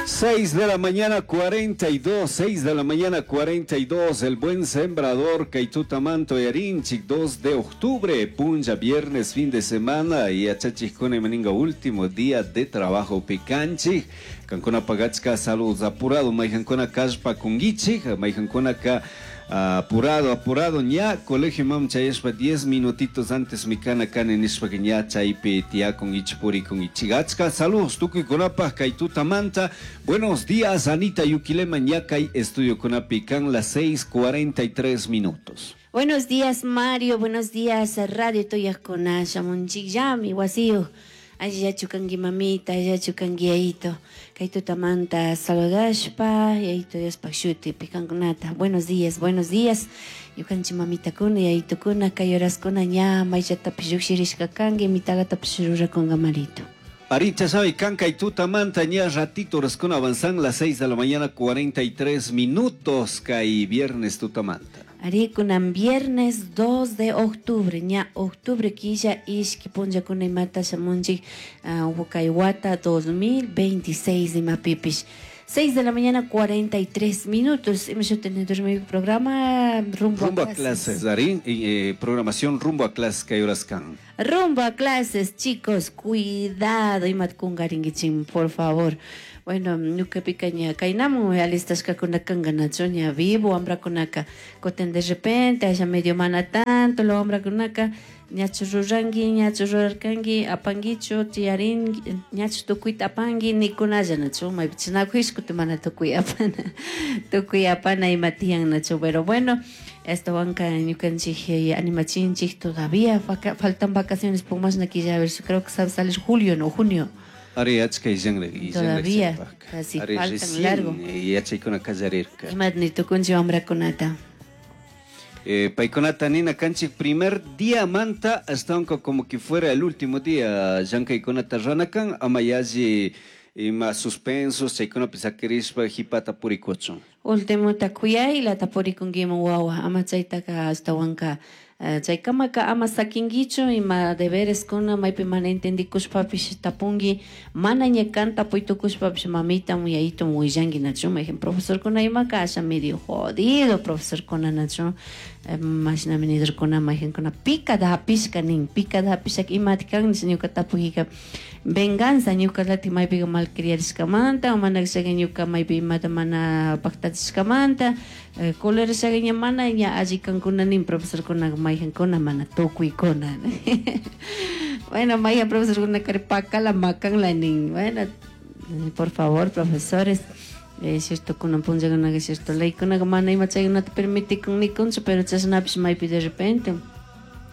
6 de la mañana 42, 6 de la mañana 42, el buen sembrador kay tutamanta uyarinchik, 2 de octubre, punlla viernes, fin de semana, yachachijkuna imaninga último día de trabajo picanchik, kankuna pagachka saludos apurado, mayjankuna kashpa kungichik, mayjankunaka apurado, apurado, ña colegio mam chayashpa 10 minutitos antes mikana kani nishpa ña chaypi tiyakun ichpurikun ichigachka. Saludos tukuykunapaj kay tutamanta. Buenos días, Anita Yuquilema, ña kay estudio kunapi kan las 6:43 minutos. Buenos días, Mario. Buenos días, Radio Tuyakuna. Shamunchikllami, wasiyu. Allillachu kanki mamita, allillachu kanki yayito. Kay tutamanta saludashpa, yayito Diospaj shutipi kankunata. Buenos días, buenos días. Ñukanchik mamitakuna, yayitukuna, kay horaskuna ña mayllatapish llukshirishka kanki, mitalatapish rurakunga marito. Aricha sabe, kanka y tutamanta ña ratito horaskuna avanzan las 6 de la mañana 43 minutos, kay viernes tutamanta. Arikunan viernes 2 de octubre, ña octubre quilla ishki punllakuna imata shamunchik, kay wata 2026 imapipish. 6 de la mañana 43 minutos. Hemos tenido mi programa Rumbo, Rumbo a a Clases. Clases, Darín, y programación Rumbo a Clases, kay horaskan. Rumbo a Clases, chicos, cuidado, imatkungaringuichim, por favor. Bueno, ñuka picaña kaynamun alistashkakuna kanka nachu ña vivo wamrakunaka kutin de repente allá medio mana tanto lo wamrakunaka ñachu ruranki ñachu rurarkanki apankichu tiyarin ñachu tukuyta apanki nikunalla nachu maypi chinakush kutin mana tukuy apana tukuy apana ima tiyan nachu, pero bueno, esto wanka ñukanchik animachinchik todavía faltan vacaciones por más quilla, a ver, creo que sabe salir julio, no junio. Ari achka illanraq, illanraq Todavía, chaypaqqa. casi Ari faltan recién, largo. Yachaykuna qallarirqa. Imat ni tukunchik wamrakunata. Paykunata nina kanchik primer día manta hasta aunque como que fuera el último día llankaykunata ranakan ama yalli ima suspensos chaykunapi sakirishpa hipata purikuchun. Último kuyayla tapurikunkiman wawa ama chaytaka astawanka chaykamaka ama sakinkichu ima deberes kuna maypi mana entendikushpapish tapunki mana ña kan tapuytukushpapish mamita yayitum willanki nachu mayjin profesorkuna imaka asha medio jodido profesorkuna nachu mashnami nidorkuna mayjinkuna picada hapishka nin picada hapishaka imati kan nish ñuka tapukika venganza ñuka latik maypika malcriarishkamanta o mana kashaka ñuka maypi imata mana paktachishkamanta colerashaka ña mana ña alli kankuna nin profesorkuna mayjinkuna mana tukuykuna. Bueno, mayjan profesorkuna kari pakala makanla nin. Bueno, por favor, profesores, cierto kunan punllakunaka cierto leykunaka mana ima chaykunata permitikun nikunchu, pero chashnapish maypi de repente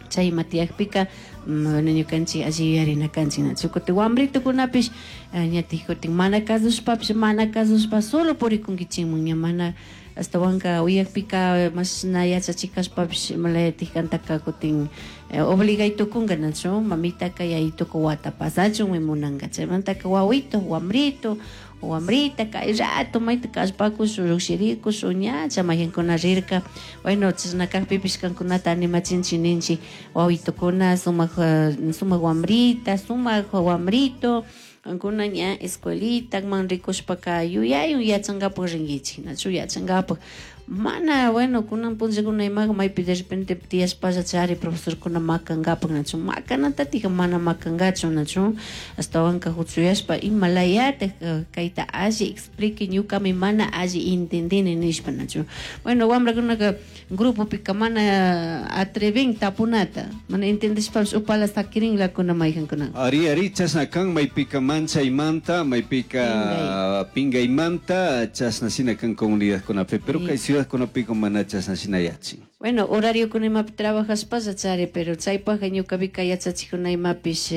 chay ima tiyakpika, bueno, ñukanchik alli yuyarina kanchik nachu kutin wambritukunapish, ñatik kutin mana kasushpapish mana kasushpa solo purikunkichikmun ña mana astawanka uyakpika mashna yachachikashpapish imalayatik kantaka kutin obligay tukunka nachu mamitaka yayituka wata pasachun munanka chaymantaka wawito wambrito wambrita kay rato mayta kallpakush llukshirikush ñacha mayjankuna rirka. Bueno, chashna kakpipish kankunata animachinchik ninchik wawitukuna sumak sumak wambrita sumak wambrito kankuna ña escuelita man rikushpaka yuyayun yachankapak rinkichik nachu yachankapak mana bueno kunan punllakuna imaka maypi de repente tiyashpalla chari profesorkuna makankapak nachu makanatatika mana makankachu nachu astawanka huchuyashpa imalayatik kayta alli explique ñukami mana alli entendini nishpa nachu. Bueno, wamrakunaka grupopika mana atrevin tapunata mana entendishpapish upala sakirinlakuna mayjankuna. Ari, ari, chashna kan maypika manchaymanta maypika pingaymanta chashna shina kan comunidadkunapi, pero kay ciudadkunapika mana chashna shina yachin. Bueno, horario kuna imapi trabajashpalla chari, pero chaypajka ñukapika yachachikuna imapish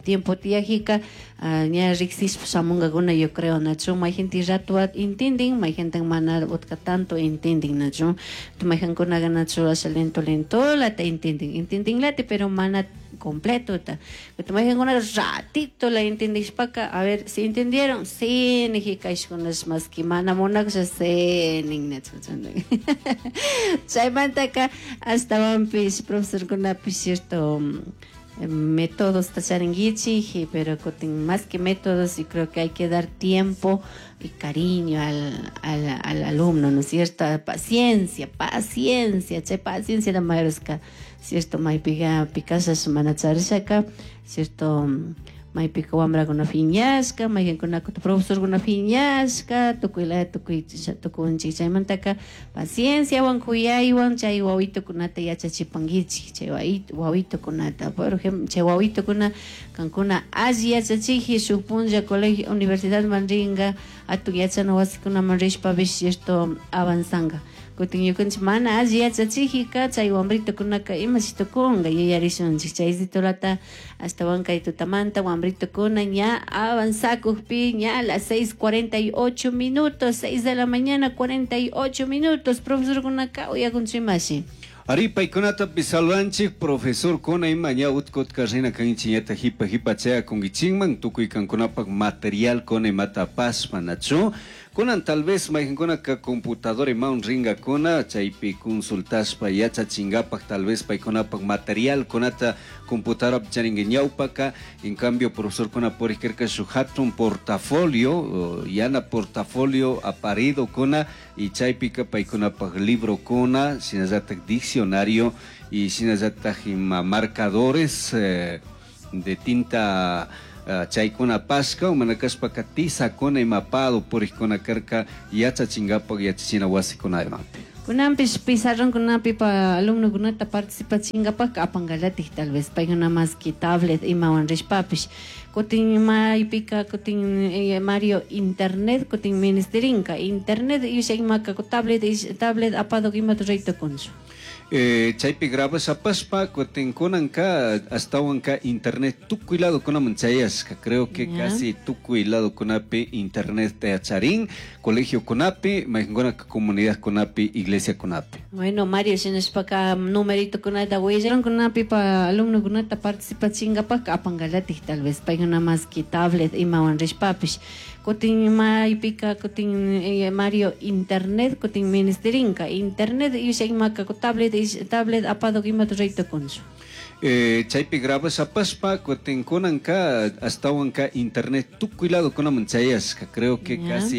tiempo tiyajika, ña riksishpa shamunkakuna yo creo nachu mayjinti rato intendin mayjintin mana utka tanto intendin nachu mayjankunaka nachu asha lento lento lata intendin intendin lati pero mana completo ta mayjankuna ratito la entendishpaka a ver si entendieron sí nijika ishkunash más que mana munakusha sí nin nachu chaymantaka astawanpish profesorkunapish cierto. Métodos charinguichik, pero kutin más que métodos, yo creo que hay que dar tiempo y cariño al alumno, ¿no es cierto? Paciencia, paciencia, chay paciencia la mayorska, cierto? Maypiga pikashash mana charishaka, cierto? Maypika wambrakuna piñashka, mayqinkunaka profesorkuna piñashka, tukuy tukuy tukunchik. Chaymantaka pacienciawan kuyaywan chay wawitukunata yachachipankichik, chay wawitukunata, por ejemplo, chay wawitukuna kankuna alli yachachiji shuk punlla colegio universidadman rinka, atun yachana wasikunaman rishpapish, cierto, avanzanga. Kutin ñukanchik mana alli yachachijika chay wambritukunaka imashi tukunka, yuyarishunchik. Chay situlata ashtawan kay tutamanta wambritukuna ña avanzakukpi, ña las 6:48 minutos, 6 de la mañana 48 minutos, profesorkunaka uyakunchu imashi. Ari paykunatapish saludanchik profesor kuna ima ña utkutka rina kanchik ñata hipa hipa chayakunkichinman tukuy kankunapak material kuna imata apashpa, nachu? Kunan tal vez mayqinkunaka computadora imawan rinkakuna chaypi consultashpa yachachinkapak, tal vez paykunapak material kunata computadorapi charinka. Ñawpaka en cambio profesorkuna purikirka shuk hatun portafolio, yana portafolio aparido kuna, y chaypika paykunapak librokuna, shinallatak diccionario y shinallatak ima marcadores de tinta, chaykuna pashka mana kashpaka tizakuna imapado purikkuna karka yachachinkapak yachachina wasikuna imapi. Kunanpish pizarronkunapi pa alumnokunata participachinkapak apankalatik tal vez paykuna más que tablet imawan rishpapish. Kutin maypika kutin Mario internet kutin ministerinka internet isha imaka tablet tablet apado imata raytukunchu. Chaypi grabas apashpa kutin kunanka ashtawanka internet tukuy ladokunaman chayashka, creo que casi tukuy ladokunapi internet charin, colegio kunapi, mayqinkunaka comunidad kunapi, iglesia kunapi. Bueno, Mario, shinashpaka numerito kunata willankunapi pa alumnokunata participachinkapak apankalatik tal vez paykuna más que tablet imawan rishpapish. Kutin maypika kutin Mario internet kutin ministerinka internet isha imaka tablet tablet apado imata raytukunchu. Chaypi grabas apashpa kutin kunanka ashtawanka internet tukuy ladokunaman chayashka, creo que casi.